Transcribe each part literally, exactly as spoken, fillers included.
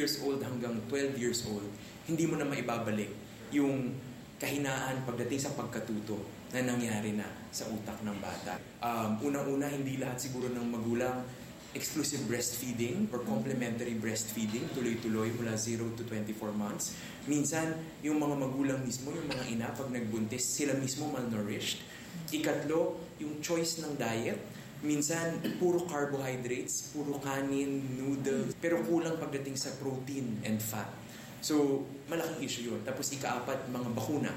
years old hanggang twelve years old, hindi mo na maibabalik yung kahinaan pagdating sa pagkatuto na nangyari na sa utak ng bata. Um, unang-una, hindi lahat siguro ng magulang exclusive breastfeeding or complementary breastfeeding, tuloy-tuloy mula zero to twenty-four months. Minsan, yung mga magulang mismo, yung mga ina, pag nagbuntis, sila mismo malnourished. Ikatlo, yung choice ng diet. Minsan, puro carbohydrates, puro kanin, noodles, pero kulang pagdating sa protein and fat. So, malaking issue yun. Tapos ikaapat, mga bakuna.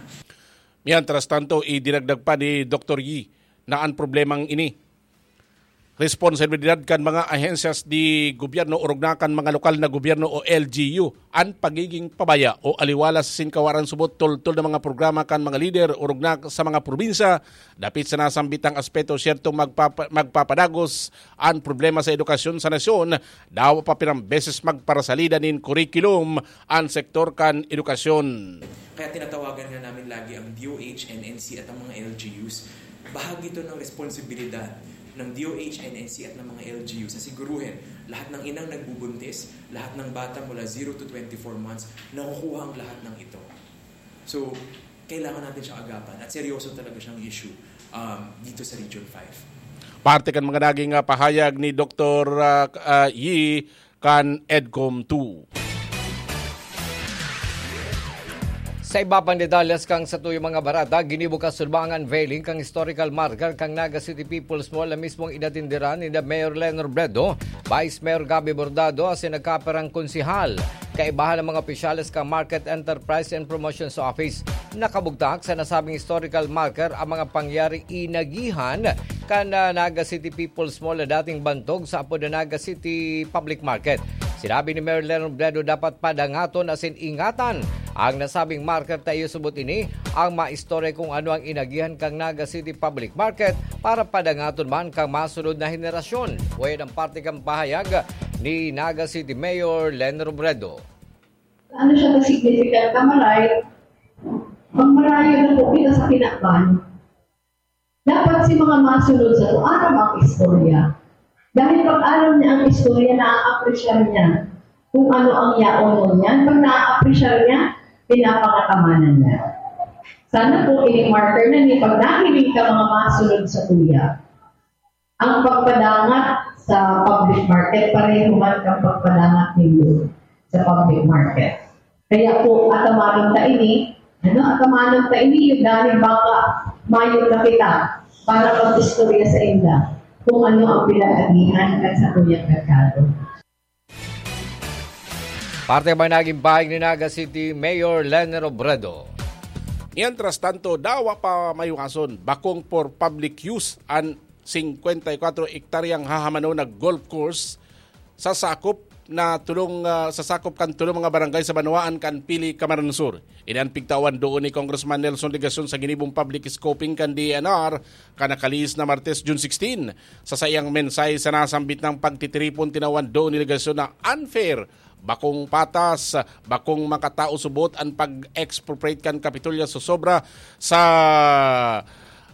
Mientras tanto, idinagdag pa ni Doktor Yi na ang problemang ini, responsibilidad kan mga ahensyas di gobyerno orog na kan mga lokal na gobyerno o L G U, an pagiging pabaya o aliwala sa sinkawaran subot toltol na mga programa kan mga lider orog na sa mga probinsya. Dapit sa nasambitang aspeto, siyertong magpapa-, magpapadagos an problema sa edukasyon sa nasyon, dawa pa pirang beses magparasalida nin kurikulum an sektor kan edukasyon. Kaya tinatawagan nga namin lagi ang D O H, N N C at ang mga L G Us. Bahagi ito ng responsibilidad ng D O H, N N C at ng mga L G Us na siguruhin lahat ng inang nagbubuntis, lahat ng bata mula zero to twenty-four months, nakukuha ang lahat ng ito. So, kailangan natin siyang agapan at seryoso talaga siyang issue, um, dito sa Region five. Parte kan mga naging, ah, pahayag ni Doktor, ah, ah, Yi kan EDCOM two. Sa iba pang detalles kan satuyang mga bareta, ginibo kasulbaan ang unveiling kan historical marker kan Naga City People's Mall na mismong inatindiran ni Mayor Len Robredo, Vice Mayor Gabby Bordado asin nagkapirang konsehal. Kaibahan ang mga opisyales kan Market Enterprise and Promotions Office. Nakabugtak sa nasabing historical marker ang mga pangyaring inagihan kan, ah, Naga City People's Mall na dating bantog sa apod na Naga City Public Market. Sinabi ni Mayor Len Robredo, dapat padangaton asin ingatan ang nasabing marker ta iyo subot ini ang maistorya kung ano ang inagihan kan Naga City Public Market para padangaton man kan masunod na henerasyon. Wayan ang parte kan pahayag ni Naga City Mayor Len Robredo. Ano siya ka-significant na maray? Pag marayo na po kita sa kinaban, dapat si mga masunod sa to, aram ang istorya. Dahil pag aram niya ang istorya, na-appreciate niya kung ano ang yaon mo niyan. Pag na-appreciate niya, pinapangatawanan niya. Sana po, ini-marker na ni pag nahiling ka mga masunod sa tuya. Ang pagpadangat sa public market, pareho man kang pagpadangat nindo sa public market. Kaya po, atamanon ta ini, ano, atamanon ta ini, yung dahil baka mayo na kita para mag-istorya sa inda kung ano ang pinag-agihan kan sa kuyang merkado. Parte man naging pahayag ni Naga City Mayor Len Robredo. Mientras tanto, dawa pa maiwason, bakong for public use an singkwenta y kwatro ektaryang hahamanon na golf course sa sakop na tulong, ah, sa sakop kan tulong mga barangay sa banwaan kan Pili, Camarines Sur. Ini an pigtawan doon ni Congressman Nelson Legacion sa ginibong public scoping kan D E N R kan nakalihis na Martes, June sixteen. Sa saiyang mensahe sa nasambit na pagtitiripon, tinawan doon ni Legacion na unfair, bakong patas, bakong makatao subot an pag-expropriate kan Kapitolya sa sobra sa,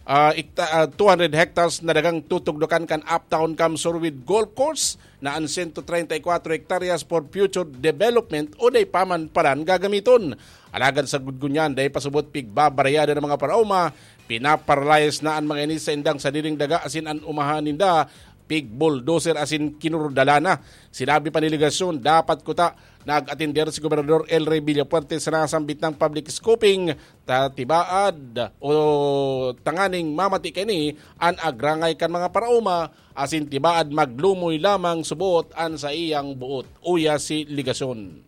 ah, ikta-, ah, two hundred hectares na dagang tutugdokan kan Uptown Camsur with Golf Course na an sento treinta y kwatro hektaryas for future development o dai pa man palan gagamiton. Alagad sagkod ngunyan, dai pa subot pigbabarayada ng mga paraoma, pinaparalyze na an mga ini sa indang sadiring daga asin an umahan ninda pig-bulldozer asin kinurudala na. Sinabi pa ni Legacion, dapat kuta nag-atender si Gobernador El Rey Villafuerte sa nasambit na public scoping ta tibaad o tanganing mamati kaini an agrangay kan mga paraoma asin tibaad maglumoy lamang subot an saiyang buot, uya si Legacion.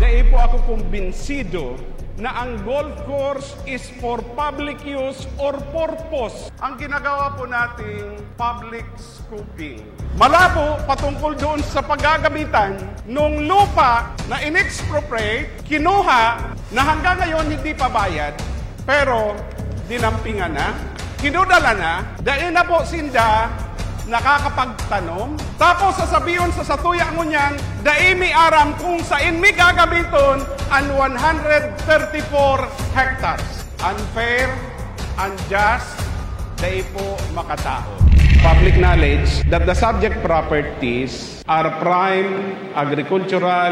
Dai po ako kumbinsido na ang golf course is for public use or purpose. Ang ginagawa po nating public scoping. Malabo patungkol doon sa paggagamitan nung lupa na in-expropriate, kinuha, na hanggang ngayon hindi pa bayad, pero dinampingan na, kinudala na, dai na po sinda nakakapagtanom. Tapos sasabihon sa satuya ngunyan, dai mi aram kung sain mi gagamiton an one hundred thirty-four hectares. Unfair, unjust, dai po makataon. Public knowledge that the subject properties are prime agricultural